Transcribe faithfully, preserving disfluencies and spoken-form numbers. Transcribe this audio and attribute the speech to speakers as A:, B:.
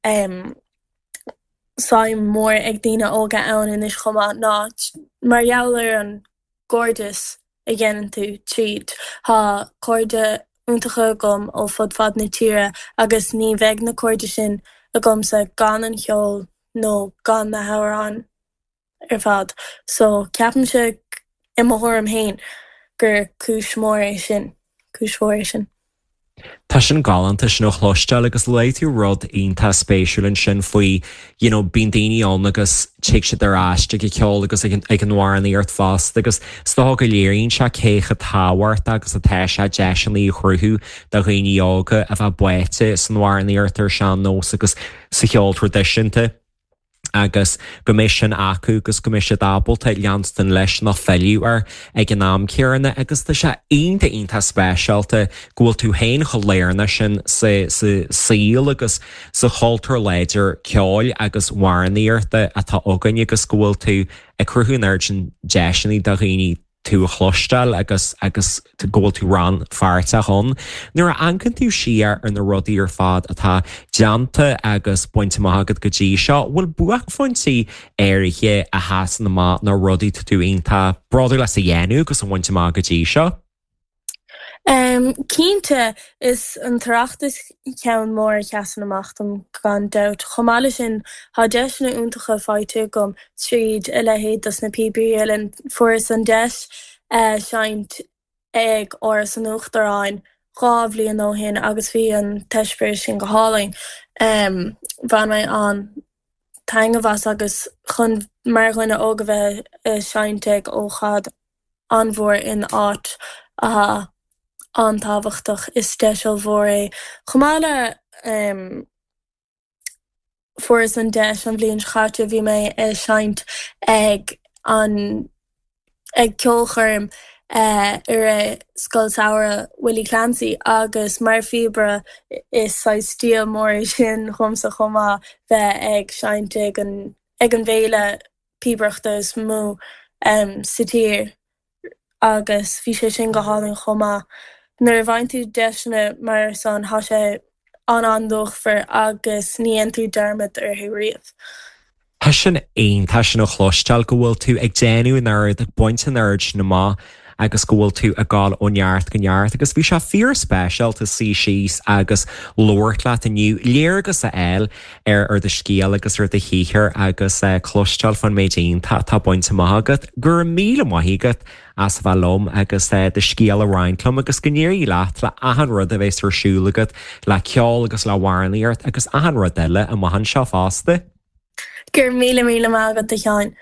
A: um, suim mór ag daoine óga ann anois chomh maith ná mar gheall ar an gcairdeas a dhéanann tú tríd. Tá cairde iontacha agam ó fud fad na tíre agus ní bheadh na cairde sin agamsa gan an ceol nó gan na hamhráin ar fad. So ceapaimse i mo thuairim féin gur cúis mór é sin, cúis mhór é sin.
B: Tá sin galánta sin a chloisteáil agus luaigh tú rud iontach spéisiúil ansin faoi you know, bíonn daoine ann agus tig siad ar ais ag an ceol agus ag an amhránaíocht fosta agus is dócha go léiríonn sé cé chomh tábhachtach agus atá sé deiseanna a chruthú do dhaoine óga a bheith báite san amhránaíocht ar sean-nós agus sa cheol traidisiúnta. agus go mbeidh sin acu agus go mbeidh siad ábalta leanstan leis nó filleadh air ag an am céanna agus tá sé iontach iontach speisialta go bhfuil tú féin chomh lárnach sin sa sa saol agus sa chultúr láidir ceoil agus amhránaíochta atá againn agus go bhfuil tú ag cruthú an oiread sin deiseanna do dhaoine tú a chloisteáil agus agus go bhfuil tú rannpháirteach ann. Nuair a amharcann tú siar ar na rudaí ar fad atá déanta agus bainte amach agat go dtí seo, bhfuil buaicphointí áirithe a sheasann amach nó rudaí tá tú iontach bródúil as a dhéanamh agus a bhaint amach go dtí seo?
A: Um, cinnte is an tOireachtas ceann mór a sheasann amach dom gan dabht. Chomh maith leis sin tá deiseanna iontacha faighte agam tríd a leithéid dos na Píobairí Uilleann. Fuaireas an deis uh, seinnt ag Áras an Uachtaráin dhá bhliain ó shin agus bhí an t-eispéireas sin go hálainn. Um, bhain mé an-taitneamh as agus chun mar dhuine óg a bheith ag seinnt ag ócáid an-mhór in áit a an-tábhachtach is deis mhór é. Chomh maith le um, fuaireas an deis an bhliain seo caite bhí mé ag seinnt ag an ag ceolchoirm uh, ar Scoil Samhraidh Willie Clancy agus mar phíobaire is saghas dia mór sin dhomsa chomh maith bheith ag seinnt ag an ag an bhféile píobaireachta is mó um, sa tír agus bhí sé sin go hálainn chomh maith. Nuair a bhain tú deiseanna mar san tá sé an an-luachmhar agus ní dhéanann tú dearmad orthu riamh.
B: Tá sin iontach sin a chloisteáil go bhfuil tú ag déanamh an oiread ag baint an oiread sin amach agus go bhfuil tú ag dul ó neart go neart agus bhí sé fíorspeisialta suí síos agus labhairt leat inniu léargas a fháil ar ar do scéal agus ar do shaothar agus uh, cloisteáil faoin méid iontach atá bainte amach agat, go raibh míle maith agat as a bheith liom agus uh, do scéal a roinnt liom agus go n-éirí leat le achan rud a bheas ar siúl agat le ceol agus le hamhránaíocht agus achan rud eile amach anseo fosta.
A: Gur míle míle maith agat a Sheáin.